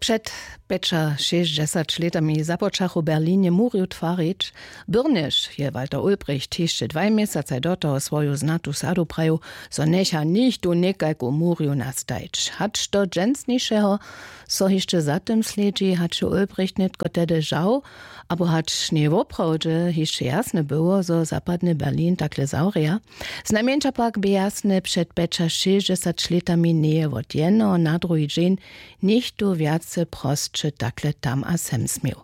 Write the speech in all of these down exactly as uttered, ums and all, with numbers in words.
Před pjećašěsćdźesać lětami započachu w Berlinje murju twarić. Byrnjež je Walter Ulbricht hišće dwaj měsacaj do toho swoju znatu sadu prajił, zo njecha nichtó někajku murju nastajić. Hač do dźensnišeho so hišće za tym slědźi, hač je Ulbricht nětko tehdy žał, abo hač njewoprawdźe hišće jasne było, zo zapadny Berlin takle zawrja. Znajmjeńša pak bě jasne, před pjećašěsćdźesać lětami njeje wot jednoho na druhi dźeń něchtó wjace prosće takle tam a sem směł.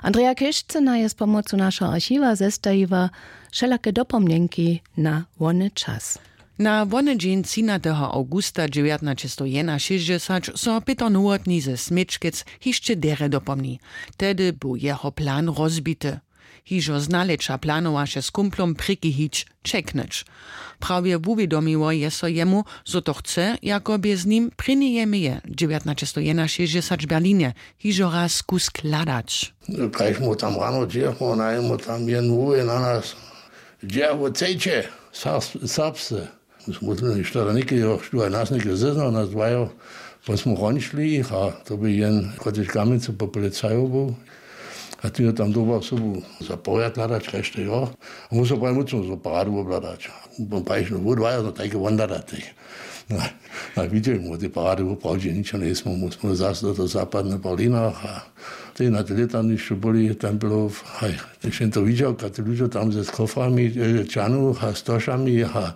Andreja Kěšcyna je z pomocu našeho archiwa zestajiła wšelake dopomnjenki na wony čas. Na wony dźeń třinateho awgusta dźewjatnaćestow jenašěsćdźesać so pětr nowotny ze směčkec hišće derje dopomni. Tehdy był jeho plan rozbity. Hižo z nalěća planowaše z kumplom prěki hić, čeknyć. Prawje wuwědomiło je so jemu, zo to chce, jako bě z nim prěni je meje dźewjatnaćestow jenašěsćdźesać w Berlinje hižo raz kusk hladać. Kaž mu tam rano dźěchmo, najmu tam jen wuwě na nas: „Dźe wo cejće, serbsce?“ Musmy štoda někeho, što je nas něke zeznał, nas dwajo. Pon smo honišli jich a to by jen, kotryž kamjencu po policajo był. A ty tam doba sobu za porjad hladać, kaž to jo. A musel pravi mucom so paradu wobhladać. Pon prajiš, no, wódwajo, no, tajke won hladać. No, a widźeli mu, tej parady woprawdźe ničo njejsmy, musmy zase do toho zapadne Berlina a tej na te lětanišću byli Templow, haj, tež jen to widźał, kak te ludźo tam ze koframi, e, čanu a stošami a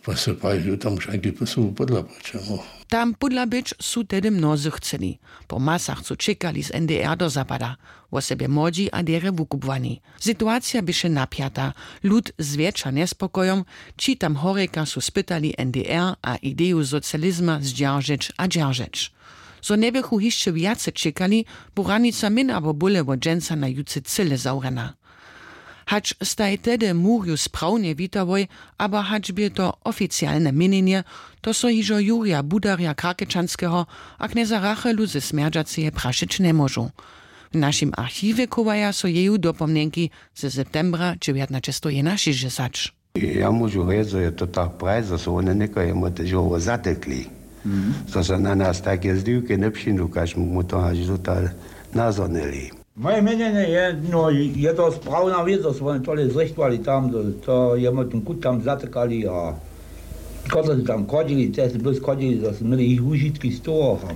pa se praji, tam wšańki su pódla, po čemu. Tam pódla być su tehdy mnozy chceli. Po masach su čekali z N D R do zapada, wosebje młodźi a derje wukubłani. Situacija běše napjata. Lud zwjetša njespokojom, ći tam horjeka su spytali N D R a ideju socializma zdźeržeć a dźeržeć. Zo njeběchu hišće wjace čekali, bu hranica mjeń abo bóle wot dźensa na jutře cyle zawrjena. Hač staj tehdy murju sprawnje witałoj, abo hač bě to oficialne měnjenje, to so hižo Jurja Budarja Krakečanskeho a knjeza Rachelu ze Smjerdźaceje prašeć njemóžu. W našim archiwje chowaja so jeju dopomnjenki ze septembra dźewjatnaćestow jenašěsćdźesać. Ja móžu rjec, zo je to tak prajić, zo su wone někajemu tež hoło zatekli, zo so na nas tajke zdiwke njepřińdu, kaž mu to hač dotal nazhonili. Moje měnjenje je, no, je to sprawna wěc, zo su wone tole zrěchtowali tam, to, to je mo ten kut tam zatykali a kotrež su tam chodźili, te su bys chodźili, zo su měli jich wužitki z toho a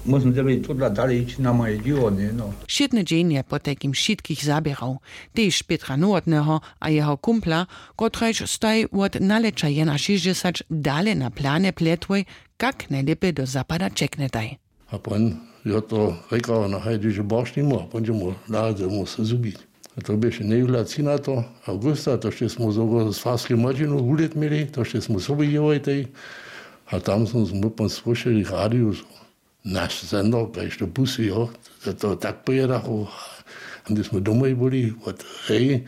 móžemy tedla dalej hić na moje dźěło, ně, no. Wšědny dźeń je potajkim wšitkich zaběrał, tež Pětra Nowotneho a jeho kumpla, kotrajž staj wot nalěća jenašěsćdźesać dale na planje pljetłoj, kak najlěpje do zapada ćeknjetaj. A pon jo to rěkał, no haj, dźeže borš nimu a pon dźe mu naradźe mu se zhubić. A to běše njejuhlaci na to awgusta, to šće smy sobu z farskej młodźinu wulět měli, to šće smy sobu jěłojtej. A tam smy pon słyšeli w radiju, zo naš sender, kaž to busy, jo, to, to tak pojědachu. A hdy smy domoj byli wot hej,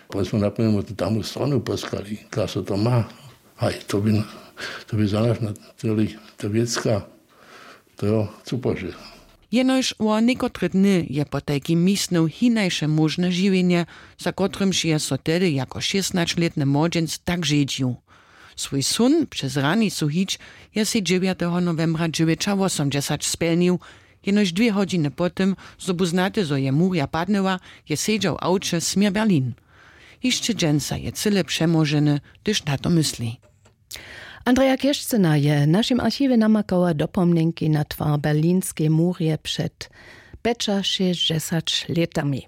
pon smy napomnjemo tu tamu stronu poskali, kaž so to ma. Haj, to by, to by za nas na tyle to wěcka, to jo, super, že. Jenož wo někotre dny je potajkim misnył hinaše móžne žiwjenje, za kotrymž je so tehdy jako šěstnaćlětny młodźenc tak žedźił. Swój són přez hranicu hić je sej dźewjateho nowembra dźewjećawosomdźesać spjelnił. Jenož dwě hodźiny po tym, zo bu znate, zo je murja padnyła, je sedźał w awće směr Berlin. Hišće dźensa je cyle přemoženy, hdyž na to mysli. Andreja Kěšcyna je w našim archiwje namakała dopomnjenki na twar berlinskej murje před pjećašěsćdźesać lětami.